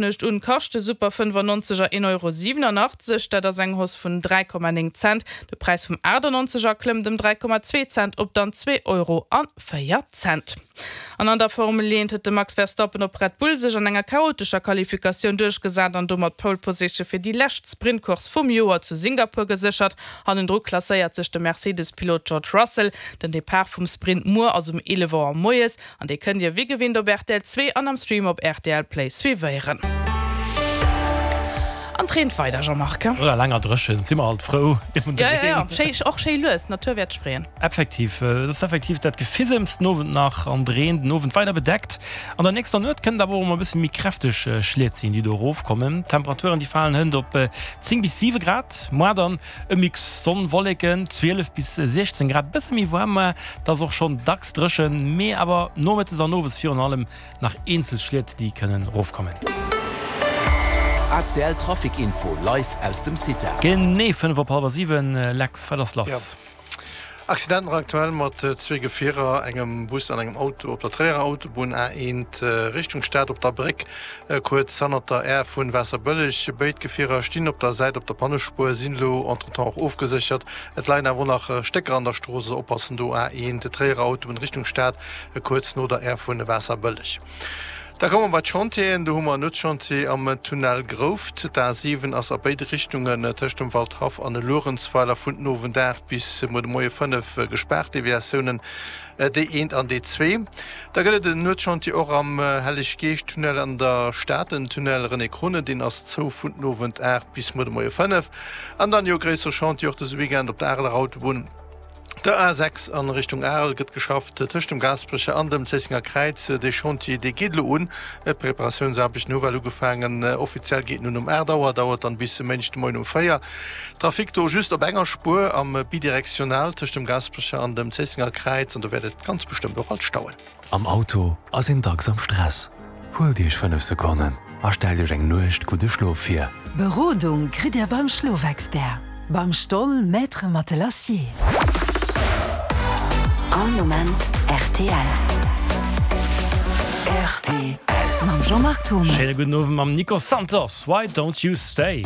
Nuecht un kascht de Super 95 er 1,87 Euro, dat ass eng Hausse vun 3,9 Cent. De Präis vum 98 er klëmmt ëm 3,2 Cent op dann 2 Euro a 4 Cent. An an der Formel 1 huet de Max Verstappen op Red Bull sech an enger chaotescher Qualifikatioun duerchgesat an domat d'Pole Position fir déi lescht Sprintcourse vum Joer zu Singapur geséchert. Hannendru klasséiert sech de Mercedes-Pilot George Russell. Den Depart vum Sprint muer ass um 11 Auer moies. An dee kënnt Dir wéi gewinnt op rtl 2 an am Stream op rtl Play suivéieren. An 't reent weider, Jean-Marc. No der laanger Dréchent si mer alt frou iwwer de Jo, jo, jo, schéi, och schéi lues, d'Natur wäert sech freeën. Effektiv, et ass effektiv dat Gefisems den Owend nach an de Reen den Owend weider bedeckt. An der nächster Nuet kënnt awer och emol e bësse méi kräfteg Schliet sinn, déi do erofkommen. D'Temperaturen, déi falen hënt op 10 bis 7 Grad, moar dann E Mix Sonn, Wolleken, 12 bis 16 Grad, bësse méi waarm, ma et ass och schonn dacks dréchen, mee awer nomëttes an owes virun allem nach eenzel Schliet, déi kënnen erofkommen. ACL Trafic Info live aus dem CITA. Genee 5 op hallwer 7, Lex, wat ass lass? Accident nach aktuell mat zwee Gefierer, engem Bus an engem Auto op der Tréierer Autobunn A1 Richtung Stad op der Bréck kuerz hannert der Aire vun Waasserbëlleg. Béid Gefierer stinn op der Säit op der Pannespuer, sinn elo entretemps och ofgeséchert. Et leien awer och nach Stécker an der Strooss, also oppassen do A1 Tréierer Autobunn Richtung Stad kuerz no der Aire vun Waasserbëlleg. Da komme mer bei d'Chantieren. Do hu mer en Nuetschantier am Tunnel Grouft. D'A 7 ass a béide Richtungen tëscht dem Waldhaff an Luerenzweiler vun den Owend 8 bis muer de Moie 5 gespaart, Deviatiounen D1 an D2. Da gëtt et en Nuetschantier och am Helleg-Geescht-Tunnel an der Stad, den Tunnel René Krune, deen ass zou vun den Owend 8 bis muer de Moie 5. An dann jo gréissere Chantier och dëse Weekend op der Areler Autobunn. Der A 6 an Richtung Arel gëtt geschafft tëscht dem Gaasperecher an dem Zéissenger Kräiz. Dee Chantier, dee geet elo un. D'Preparatiounsaarbechten hu well ugefaangen. Offiziell geet en un um 8 Auer, dauert dann bis e Méindeg de Moien um 4. Trafic do just op enger Spuer am Bidirektional tëscht dem Gaasperecher an dem Zéissenger Kräiz an do wäert et ganz bestëmmt och alt stauen. Am Auto ass een dacks am Stress. Huelt Iech 5 Sekonnen a stellt Iech eng Nuecht gudde Schlof vir. Berodung kritt Dir beim Schlofexpert, beim Stoll Maître Matelassier. All Moment rtl. Rtl. Mam Jean-Marc Thomas. Schéine gudden Owend mam Nico Santos, Why Don't You Stay?